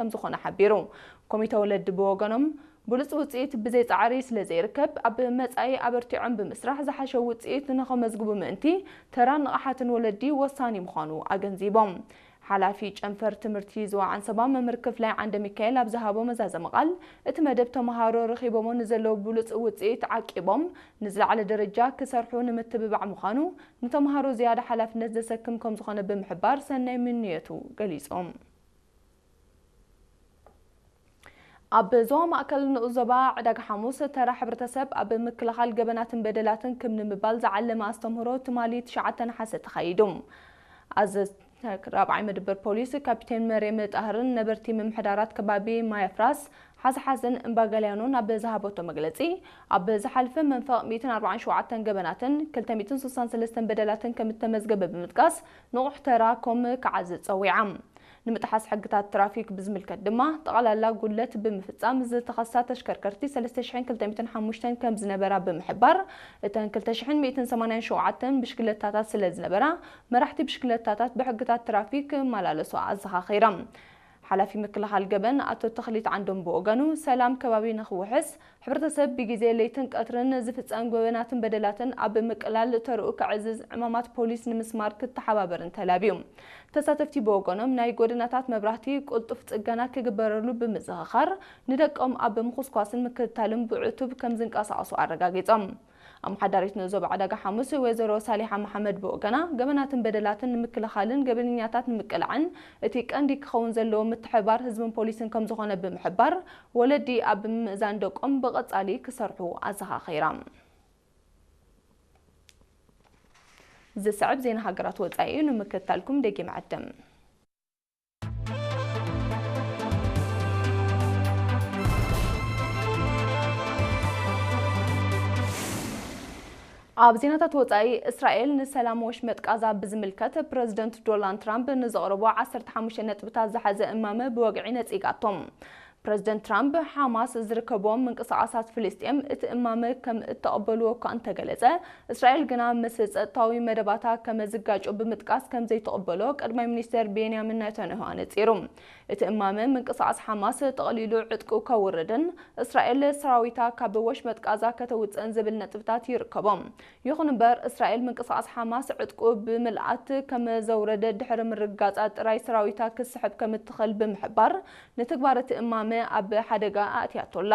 ከም ዝኾነ ሓቢሩ። ኮሚተ ወለዲ ብወገኖም፣ ብሉጽ ውጽኢት ብዘይ ጻዕሪ ስለ ዘይርከብ፣ ኣብ መጻኢ ኣበርቲዖም ብምስራሕ ዝሓሸ ውጽኢት ንኸመዝግቡ ምእንቲ፣ ተራን ንቕሓትን ወለዲ ወሳኒ ምዃኑ ኣገንዚቦም። ሓላፊ ጨንፈር ትምህርቲ ዞባ ዓንሰባ መምህር ክፍላይ ዓንደ ሚካኤል ኣብ ዝሃቦ መዛዘሚ ቃል፣ እቲ መደብ ተመሃሮ ረኺቦሞ ንዘለዉ ብሉጽ ውጽኢት ዓቂቦም ንዝለዓለ ደረጃ ክሰርሑ ንምትብባዕ ምዃኑ፣ ንተምሃሮ ዝያዳ ሓላፍነት ዘሰክም ከም ዝኾነ ብምሕባር ሰናይ ምንየቱ ገሊጹ። ኣብ ዞባ ማእከል ንኡስ ዞባ ዕዳጋ ሓሙስ ተራ ሕብረተሰብ ኣብ ምክልኻል ገበናትን በደላትን ክም ንምባል ዝዓለመ ኣስተምህሮ ትማሊ ትሽዓተ ነሓሰ ተኻይዱ። ኣዘዝቲ ራብዓይ መደበር ፖሊስ ካፒቴን መርየም ጣህርን ነበርቲ ምምሕዳራት ከባቢ ማያፍራስ፣ ሓዝሓዝን እምባገልያኖን ኣብ ዝሃበቶ መግለጺ፣ ኣብ ዝሓልፈ መንፈቕ ሚእትን ኣርባዓን ሸውዓተን ገበናትን ክልተ ሚእትን ስሳን ሰለስተን በደላትን ከም እተመዝገበ ብምጥቃስ፣ ንቑሕ ተራ ኮም ክዓዝዝ ጸዊዓ። ንምጥሓስ ሕግታት ትራፊክ ብዝምልከት ድማ፣ ጠቕላላ ጉድለት ብምፍጻም ዝተኸሳ ተሽከርከርቲ ሰለስተ ሽሕን ክልተ ሚእትን ሓሙሽተን ከም ዝነበራ ብምሕባር፣ እተን ክልተ ሽሕን ሚእትን ሰማንያን ሸውዓተን ብሽክለታታት ስለ ዝነበራ፣ መራሕቲ ብሽክለታታት ብሕግታት ትራፊክ ክመላለሱ ኣዘኻኺራ። ሓላፊ ምክልኻል ገበን ኣቶ ተኽሊት ዓንዶም ብወገኑ፣ ሰላም ከባቢ ንኽውሕስ፣ ሕብረተሰብ ብግዜ ለይትን ቀትርን ዝፍጸም ገበናትን በደላትን ኣብ ምቅላል ተርኡ ከዕዝዝ፣ ዕማማት ፖሊስ ንምስማር ክተሓባበርን ተላብዩ። ተሳተፍቲ ብወገኖም፣ ናይ ጎደናታት መብራህቲ ቅልጡፍ ጽገና ክግበረሉ ብምዝኽኻር፣ ንደቆም ኣብ ምኹስኳስን ምክትታልን ብዕቱብ ከም ዝንቀሳቐሱ ኣረጋጊጾም። ኣመሓዳሪት ንኡስ ዞባ ዕዳጋ ሓሙስ ወይዘሮ ሳሊሓ መሓመድ ብወገና፣ ገበናትን በደላትን ንምክልኻልን ገበነኛታት ንምቅላዕን እቲ ቀንዲ ክኸውን ዘለዎ ምትሕብባር ህዝብን ፖሊስን ከም ዝኾነ ብምሕባር፣ ወለዲ ኣብ ምምእዛን ደቆም ብቐጻሊ ክሰርሑ ኣዘኻኺራ። ዝስዕብ ዜና ሃገራት ወጻኢ እዩ፣ ንምክትታልኩም ደጊም ዕድም። ኣብ ዜናታት ወጻኢ፣ እስራኤል ንሰላም ወሽመጥ ቃዛ ብዝምልከት ፕረዚደንት ዶናልድ ትራምፕ ንዘቕረቦ ዓሰርተ ሓሙሽተ ነጥብታት ዝሓዘ እማመ ብወግዒ ነጺጋቶም። ፕረዚደንት ትራምፕ፣ ሓማስ ዝርከቦም ምንቅስቓሳት ፍልስጤም እቲ እማመ ከም እተቐበልዎ እኳ እንተገለጸ፣ እስራኤል ግና ምስ ጸጥታዊ መደባታ ከም ዝጋጮ ብምጥቃስ ከም ዘይትቕበሎ ቀዳማይ ሚኒስተር ቤንያሚን ናታንያሁ ኣነጺሩ። እቲ እማመ ምንቅስቓስ ሓማስ ጠቕሊሉ ዕጥቁ ከውርድን እስራኤል ሰራዊታ ካብ ወሽመጥ ቃዛ ከተውጽእን ዝብል ነጥብታት ይርከቦም። ይኹን እምበር፣ እስራኤል ምንቅስቓስ ሓማስ ዕጥቁ ብምልኣት ከም ዘውረደ ድሕሪ ምርግጋጻ ጥራይ ሰራዊታ ክስሕብ ከም እትኽእል ብምሕባር፣ ንትግባር እቲ እማመ ኣብ ሓደጋ ኣእትያቶ ኣላ።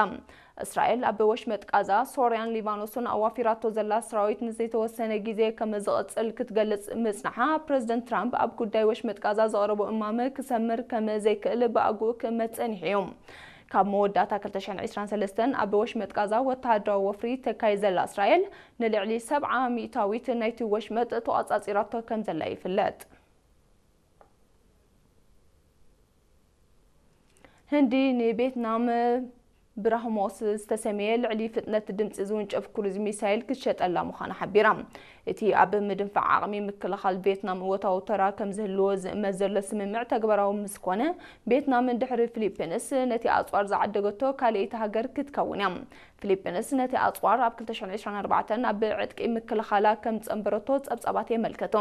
እስራኤል ኣብ ወሽመጥ ቃዛ ሶርያን ሊባኖስን ኣዋፊራቶ ዘላ ሰራዊት ንዘይተወሰነ ግዜ ከም ዝቕጽል ክትገልጽ ምጽንሓ፣ ፕረዚደንት ትራምፕ ኣብ ጉዳይ ወሽመጥ ቃዛ ዘቕረቦ እማመ ክሰምር ከም ዘይክእል ብኣግኡ ክእመት ጸኒሑ እዩ። ካብ መወዳእታ ክልተ ሽሕን ዕስራን ሰለስተን ኣብ ወሽመጥ ቃዛ ወተሃደራዊ ወፍሪ ተካይድ ዘላ እስራኤል፣ ንልዕሊ ሰብዓ ሚእታዊት ናይቲ ወሽመጥ ተቖጻጺራቶ ከም ዘላ ይፍለጥ። ህንዲ ንቤትናም ብራህሞስ ዝተሰምየ ልዕሊ ፍጥነት ድምጺ ዝውንጨፍ ክሩዝ ሚሳይል ክትሸጠላ ምዃና ሓቢራ። እቲ ኣብ ምድንፋዕ ዓቕሚ ምክልኻል ቬትናም እወታዊ ተራ ከም ዝህልዎ ዝእመት ዘሎ ስምምዕ ተግባራዊ ምስ ኮነ፣ ቬትናም ድሕሪ ፊሊፒንስ ነቲ ኣጽዋር ዝዓደገቶ ካልኣይቲ ሃገር ክትከውን እያ። ፊሊፒንስ ነቲ ኣጽዋር ኣብ ክልተ ሽሕን ዕስራን ኣርባዕተን ኣብ ዕጥቂ ምክልኻላ ከም ዝጸንበረቶ ጸብጻባት የመልክቱ።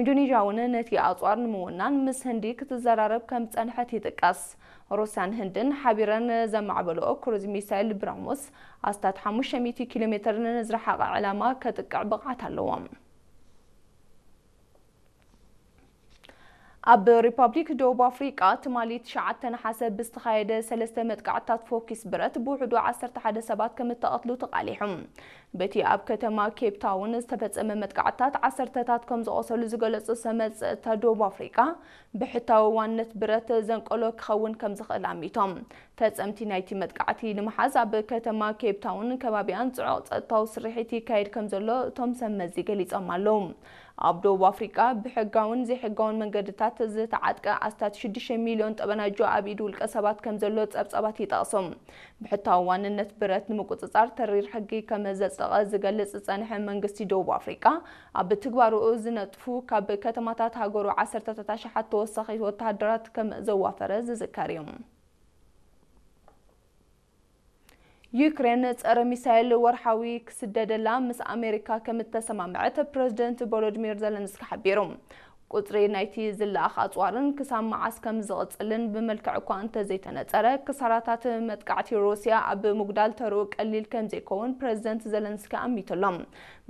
ኢንዶኔዥያ እውን ነቲ ኣጽዋር ንምውናን ምስ ህንዲ ክትዘራረብ ከም ዝጸንሐት ይጥቀስ። ሩስያን ህንድን ሓቢረን ዘማዕበልኦ ክሩዝ ሚሳይል ብራህሞስ ኣስታት ሓሙሽተ ሚእቲ ኪሎ ሜትር ንዝረሓቐ ዕላማ ከጥቅዕ ብቕዓት ኣለዎ። ኣብ ሪፓብሊክ ደቡብ ኣፍሪቃ ትማሊ ትሽዓተ ነሓሰ ብዝተኻየደ ሰለስተ መጥቃዕትታት ፎኪስ ብረት ብውሕዱ ዓሰርተ ሓደ ሰባት ከም እተቐትሉ ተቓሊሑ። በቲ ኣብ ከተማ ኬፕ ታውን ዝተፈጸመ መጥቃዕትታት ዓሰርተታት ከም ዝቖሰሉ ዝገለጹ ሰመት ጸጥታ ደቡብ ኣፍሪቃ፣ ብሕታዊ ዋንነት ብረት ዘንቀሎ ክኸውን ከም ዝኽእል ኣሚቶም። ፈጸምቲ ናይቲ መጥቃዕቲ ንምሓዝ ኣብ ከተማ ኬፕ ታውን ከባቢኣን ጽዑቕ ጸጥታዊ ስርሒት ይካየድ ከም ዘሎ እቶም ሰብ መዚ ገሊጾም ኣለዉ። ኣብ ደቡብ ኣፍሪቃ ብሕጋውን ዘይሕጋውን መንገድታት ዝተዓጥቀ ኣስታት ሽዱሽተ ሚልዮን ጠበናጆ ኣብ ኢድ ውልቀ ሰባት ከም ዘሎ ጸብጻባት ይጠቕሱ። ብሕታዊ ዋንነት ብረት ንምቁጽጻር ተሪር ሕጊ ከም ዘጽደቐ ዝገልጽ ዝጸንሐ መንግስቲ ደቡብ ኣፍሪቃ፣ ኣብ ትግባርኡ ዝነጥፉ ካብ ከተማታት ሃገሩ ዓሰርተታት ኣሽሓት ተወሳኺ ወተሃደራት ከም ዘዋፈረ ዝዝከር እዩ። ዩክሬን ጸረ ሚሳይል ወርሓዊ ክስደደላ ምስ ኣሜሪካ ከም እተሰማምዐት ፕረዚደንት ቮሎዲሚር ዘለንስኪ ሓቢሩ። ቁጽሪ ናይቲ ዝለኣኽ ኣጽዋርን ክሳብ መዓስ ከም ዝቕጽልን ብመልክዕ እኳ እንተዘይተነጸረ፣ ክሳራታት መጥቃዕቲ ሩስያ ኣብ ምጉዳል ተርኡ ቀሊል ከም ዘይከውን ፕረዚደንት ዘለንስኪ ኣሚቱ ኣሎ።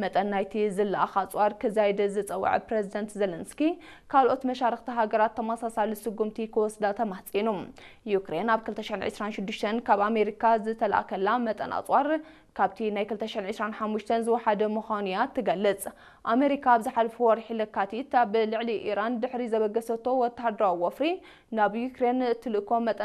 መጠን ናይቲ ዝለኣኽ ኣጽዋር ክዛይድ ዝጸውዐ ፕረዚደንት ዘለንስኪ፣ ካልኦት መሻርኽቲ ሃገራት ተመሳሳሊ ስጉምቲ ክወስዳ ተማሕጺኑ። ዩክሬን ኣብ ክልተ ሽሕን ዕስራን ሽዱሽተን ካብ ኣሜሪካ ዝተላእከላ መጠን ኣጽዋር ካብቲ ናይ ክልተ ሽሕን ዕስራን ሓሙሽተን ዝወሓደ ምዃኑ እያ ትገልጽ። ኣሜሪካ ኣብ ዝሓለፈ ወርሒ ለካቲት ኣብ ልዕሊ ኢራን ድሕሪ ዘበገሰቶ ወተሃደራዊ ወፍሪ፣ ናብ ዩክሬን ትልእኮ መጠን